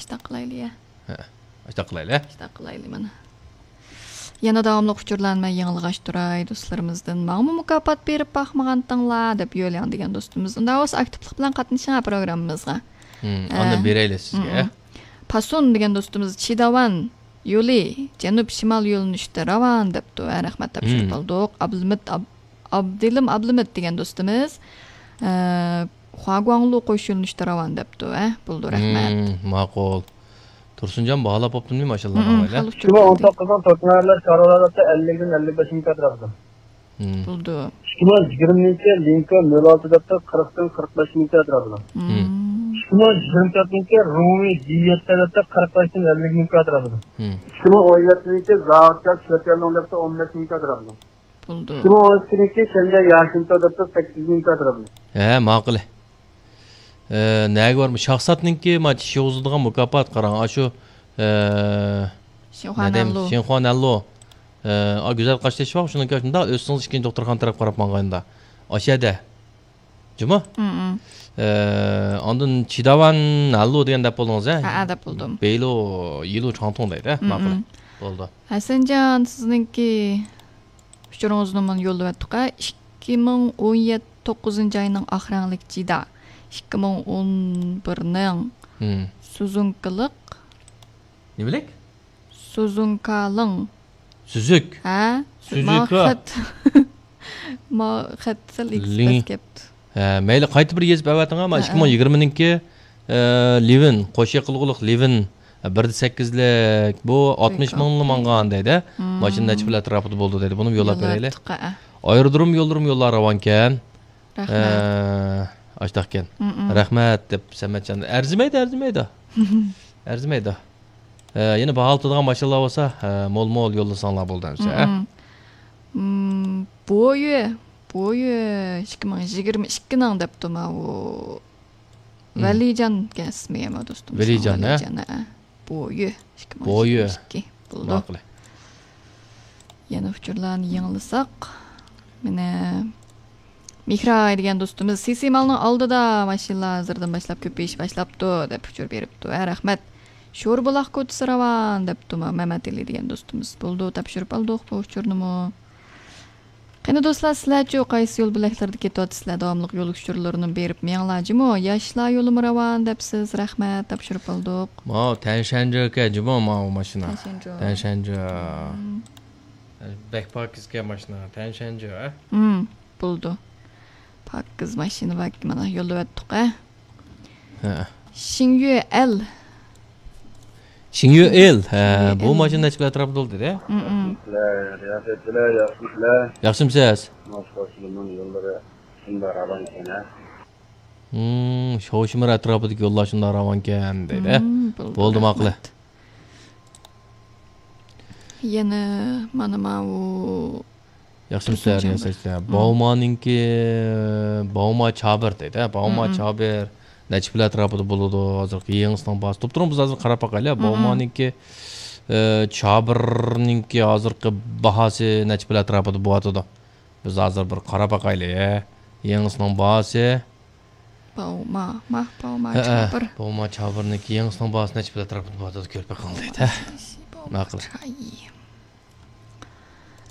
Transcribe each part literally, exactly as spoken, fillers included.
ئىشتاق قىلايلى، يە. ھە، ئىشتاق قىلايلى. ئىشتاق قىلايلى مانا. يەنە داۋاملىق ئۇچۇرلارنى مەن يېڭىلىغاچ تۇراي، دوستلىرىمىزدىن. ماڭىمۇ مۇكاپات بېرىپ باقمىغانتىڭلار دەپ يۆلياڭ دېگەن دوستىمىز. ئۇنداق بولسا ئاكتىپلىق بىلەن قاتنىشىڭ پروگراممىمىزغا. ھىم، ئە، ئاندىن بېرەيلى سىزگە. ھىم. پاسون دېگەن دوستىمىز چىداۋان يولى جەنۇب شىمال يۆنىلىشىدە راۋان دەپتۇ. ھە، رەھمەت، تاپشۇرۇپ ھىم. ئالدۇق. ئابلىمىت ئاب-، ئابدىلىم ئابلىمىت دېگەن دوستىمىز، ئە، خۇاگۇاڭلۇ قوش يۆنىلىشىدە راۋان دەپتۇ. ھە، بولىدۇ، رەھمەت. ھىم، ماقۇل. تۇرسۇنجان باھالاپ بوپتۇمۇ، ماشاللا، ھىم، ماشاللا. خېلى ئىككى مىڭ ئون توققۇزنىڭ توكنايلار شارۋىلار دەپتۇ، ئەللىكتىن ئەللىك بەش مىڭ كاترا بىلەن. ھىم. بولىدۇ. ئىككى مىڭ يىگىرمىنىڭكى لىنكولن نۆل ئالتە دەپتۇ، قىرىقتىن قىرىق بەش مىڭ كاترا بىلەن. ھىم. ھىم. ئىككى مىڭ يىگىرمە تۆتىنىڭكى رومى جى يەتتە دەپتۇ، قىرىق بەشتىن ئەللىك مىڭ كاترا بىلەن. ھىم. ئىككى مىڭ ئون يەتتىنىڭكى زاۋۇتكا شۆتيەنلوڭ دەپتۇ، ئون بەش مىڭ كاترا بىلەن. بولىدۇ. ئىككى مىڭ ئون ئىككىنىڭكى شەنجياڭ ياشىنتو دەپتۇ، سەككىز مىڭ كاترا بىلەن. ھە، ماقۇل. ئە، نەگە بارمۇ؟ شاخساتنىڭكى ما چىش يوغۇزلىدىغان مۇكاپات قاراڭ، ئاشۇ، ئە، شىنخۇا نەدەم؟ نەنلۇ. شىنخۇا نەنلۇ. ئە، ئا، گۈزەل قاشتېشى بار، شۇنىڭكى شۇنداق ئۆتسىڭىز ئىككىنچى دوختۇرخانا تەرەپ قاراپ ماڭغاندا. ئاشەدە. جۇمۇ؟ ھىم، ھىم. ئە، ئاندىن چىداۋان نەنلۇ دېگەن دەپ بولدىڭىز، ھە؟ ھە، ھە، دەپ بولدۇم. بېيلۇ، يىلۇ چاڭتۇڭ دەيدۇ، ھە؟ ھىم، ماقۇل. ھىم. بولدى. ھەسەنجان، سىزنىڭكى ئۇچۇرىڭىزنى مانا يوللىۋەتتۇق، ھە؟ ئىككى مىڭ ئون يەتتە، توققۇزىنچى ئاينىڭ ئاق رەڭلىك جىدا. ئىككى مىڭ ئون بىرنىڭ ھىم. سۇزۇنكىلىق. نېمىلىك؟ سۇزۇنكالىڭ. سۈزۈك. ھە؟ سۈزۈكا. ما خەت. ما خەت سەل لىڭ. ئېكسپرېس كەپتۇ. ھە، مەيلى، قايتا بىر يېزىپ ئەۋەتىڭ، ھە، ھە، ئىككى مىڭ يىگىرمىنىڭكى، ئە، لىۋىن، قوش يېقىلغۇلۇق لىۋىن، ئە، بىر دە سەككىزلىك، بۇ ئاتمىش مىڭلا ماڭغان دەيدۇ. ھىم. ماشىنا نەچچە پىل ئەتراپىدا بولىدۇ دەيدۇ. بۇنىمۇ يوللاپ بېرەيلى. يوللاپ بېرەيلى. ئايرودروم يوللىرىمۇ يوللار راۋانكەن. رەھمەت. ئە، ئاشتاقكەن. ھىم، ھىم. رەھمەت دەپ سەمەتجان. ئەرزىمەيدۇ، ئەرزىمەيدۇ. ئەرزىمەيدۇ. ئە، يەنە باھالىتىدىغان ماشىنىلار بولسا، ئە، مول-مول يوللىساڭلار بولدى ئەمسە، ئە؟ مم، بويى، بويى ئىككى مىڭ يىگىرمە ئىككىنىڭ دەپتۇ ماۋۇ. مم. ۋەلىجان ئىكەن ئىسمى، ئەمما دوستۇم. ۋەلىجان، ھە؟ ۋەلىجان، ھە. بويى ئىككى مىڭ يىگىرمە ئىككى بولدى. ماقۇل. يەنە ئۇچۇرلارنى يېڭىلىساق. مانا، مېھراي دېگەن دوستىمىز، سىسى مالنىڭ ئالدىدا ماشىنىلار ھازىردىن باشلاپ كۆپىيىش باشلاپتۇ، دەپ ئۇچۇر بېرىپتۇ. ھە، رەھمەت. شوربۇلاق كوچىسى راۋان، دەپتۇ مەمەتئېلى دېگەن دوستىمىز. بولدى، تاپشۇرۇپ ئالدۇق بۇ ئۇچۇرنىمۇ. قېنى دوستلار، سىلەرچۇ قايسى يول بۆلەكلىرىدە كېتىۋاتىسىلەر؟ داۋاملىق يول ئۇچۇرلىرىنى بېرىپ مېڭىڭلار جۇمۇ. ياشلار يولىمۇ راۋان دەپسىز، رەھمەت، تاپشۇرۇپ ئالدۇق. ماۋۇ تەنشەنجۆ ئىكەن جۇمۇ، ماۋۇ ماشىنا. تەنشەنجۆ. تەنشەنجۆ. مم. بەك پاكىز ئىكەن ماشىنا، تەنشەنجۆ، ھە؟ مم، بولىدۇ. پاكىز ماشىنا بار، مانا يوللىۋەتتۇق، ھە؟ ھە. شىڭيۈ ئېل. شىڭيۈ ئېل، ھە، شىڭيۈ بۇ ئېل. ماشىنا نەچچە ئەتراپىدا بولدى دە؟ مم، مم. ياخشىمۇسىلەر، رىياسەتچىلەر، ياخشىمۇسىلەر؟ ياخشىمۇسىز؟ مانا شۇ يوللىرى شۇنداق راۋان ئىكەن، ھە؟ ھىم، شوۋشىمىر ئەتراپىدىكى يوللار شۇنداق راۋانكەن دەيدۇ. ھىم، بولدى، بولدى، ماقۇل. رەھمەت. يەنە مانا ماۋۇ ياخشىمۇسىلەر، تۇرسۇنجان بىر. ياساشلار. ھىم. باۋمانىڭكى، باۋما چابىر دەيدۇ، ھە؟ باۋما ھىم، ھىم. چابىر نەچچە پىل ئەتراپىدا بولىدۇ، ھازىرقى يېڭىسىنىڭ باھاسى. توپتۇرۇڭ بىز ھازىر قاراپ باقايلى، ھە؟ ھىم، ھىم. باۋمانىڭكى، ئە، چابىرنىڭكى ھازىرقى باھاسى نەچچە پىل ئەتراپىدا بولۇۋاتىدۇ؟ بىز ھازىر بىر قاراپ باقايلى، ھە؟ يېڭىسىنىڭ باھاسى. باۋما، ماھ باۋما ھەئە، چابىر. باۋما چابىرنىڭكى يېڭىسىنىڭ باھاسى نەچچە پىل ئەتراپىدا بولۇۋاتىدۇ، كۆرۈپ بېقىڭ دەيدۇ، ھە؟ باۋما ماقۇل. چاي.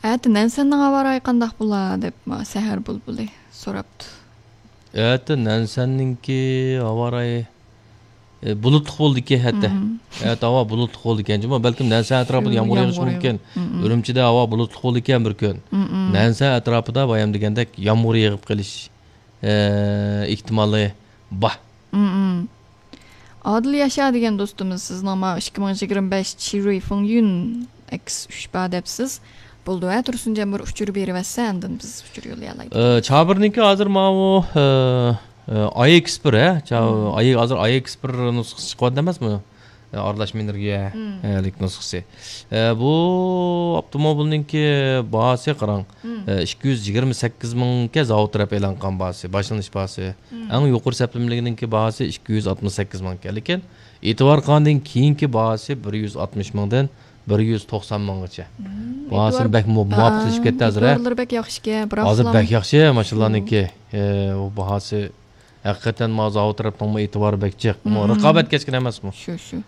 ئەتە نەنسەننىڭ ھاۋا رايى قانداق بولا دەپ ما سەھەر بۇلبۇلى سوراپتۇ. ئەتە نەنسەننىڭكى ھاۋا رايى، ئە، بۇلۇتلۇق بولىدىكەن ھەتتا. مم. ئەتە ھاۋا بۇلۇتلۇق بولىدىكەن جۇمۇ. بەلكىم نەنسەن ئەتراپىدا يامغۇر يېغىشى مۇمكىن. مم. ئۈرۈمچىدە ھاۋا بۇلۇتلۇق بولىدىكەن بىر كۈن. مم. نەنسەن ئەتراپىدا بايام دېگەندەك يامغۇر يېغىپ قېلىش، ئە، ئېھتىمالى بار. مم. ئادىل ياشا دېگەن دوستىمىز، سىزنىڭ ما ئىككى مىڭ يىگىرمە بەش چىرۇي فېڭيۈن ئەكس ئۈچ بار دەپسىز. بولدى، ھە، تۇرسۇنجان بىر ئۇچۇر بېرىۋەتسە، ئاندىن بىز ئۇچۇر يوللىيالايدۇ. ئە، چابىرنىڭكى ھازىر ماۋۇ، ئە، ئە، ئاي ئېكس بىر، ھە؟ چا-، مم. ئاي، ھازىر ئاي ئېكس بىر نۇسخىسى چىقىۋاتىدۇ ئەمەسمۇ؟ ئە، ئارىلاشما ئېنېرگىيە، مم. ئە، لىك نۇسخىسى. ئە، بۇ ئاپتوموبىلنىڭكى باھاسى قاراڭ. مم. ئە، ئىككى يۈز يىگىرمە سەككىز مىڭكەن زاۋۇت تەرەپ ئېلان قىلغان باھاسى، باشلىنىش باھاسى. مم. ئەڭ يۇقىرى سەپلىمىلىكىنىڭكى باھاسى ئىككى يۈز ئاتمىش سەككىز مىڭكەن. لېكىن ئېتىبار قىلغاندىن كېيىنكى باھاسى بىر يۈز ئاتمىش مىڭدىن بىر يۈز توقسان مىڭغىچە. مم. باھاسى ئېتىبار-، بەك مۇ-، مۇۋاپىقلىشىپ كەتتى ھازىر، ھە؟ ئېتىبارلىرى بەك ياخشىكەن، بىراقلا ھازىر بەك ياخشى ماشىنىلارنىڭكى. شۇ. ئە، ئۇ باھاسى ھەقىقەتەن ما زاۋۇت تەرەپنىڭمۇ ئېتىبارى بەك جىق. مم. رىقابەت كەسكىن ئەمەسمۇ؟ شۇ، شۇ.